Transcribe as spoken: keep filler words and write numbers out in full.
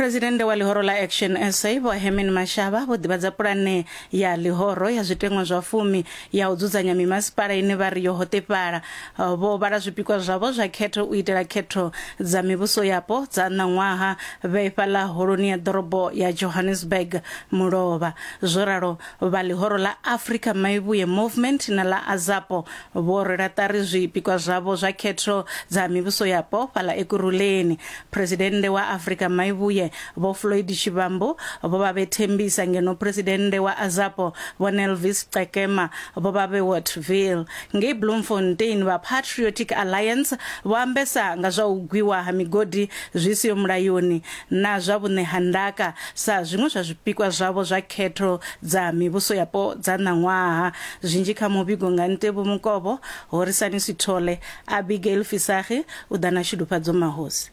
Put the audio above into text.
Presidennde wa ḽihoro ḽa Action S A Vho Herman Mashaba vho ḓivhadza pulane ya ḽihoro ya zwiteṅwa zwa fumi ya u dzudzanya mimasipala ine vha ri yo hoṱefhala. Vho vhala zwipikwa zwavho zwa khetho u itela khetho dza mivhuso yapo dza ṋaṅwaha vhe fhaḽa holoni ya ḓorobo ya Johannesburg mulovha. Zwo ralo vha ḽihoro ḽa Africa Maivhuye Movement na ḽa AZAPO vho rwela ṱari zwipikwa zwavho zwa khetho dza mivhuso yapo fhaḽa Ekurhuleni. Presidennde wa Africa Maivhuye Vho Floyd Shivambu vho vha vhe Thembisa, ngeno presidennde wa AZAPO Vho Nelvis Qekema vho vha vhe Wattville. Ngei Bloemfontein, vha Patriotic Alliance vho ambesa nga zwa u gwiwa ha migodi zwi siho mulayoni na zwa vhuṋe ha ndaka sa zwiṅwe zwa zwipikwa zwavho zwa khetho dza mivhuso yapo dza ṋaṅwaha. Zwinzhi kha muvhigo nga Ntevhu Mukovho, Horisani Sithole, Abigail Fisagi u ḓa na Shudufhadzo Mahosi.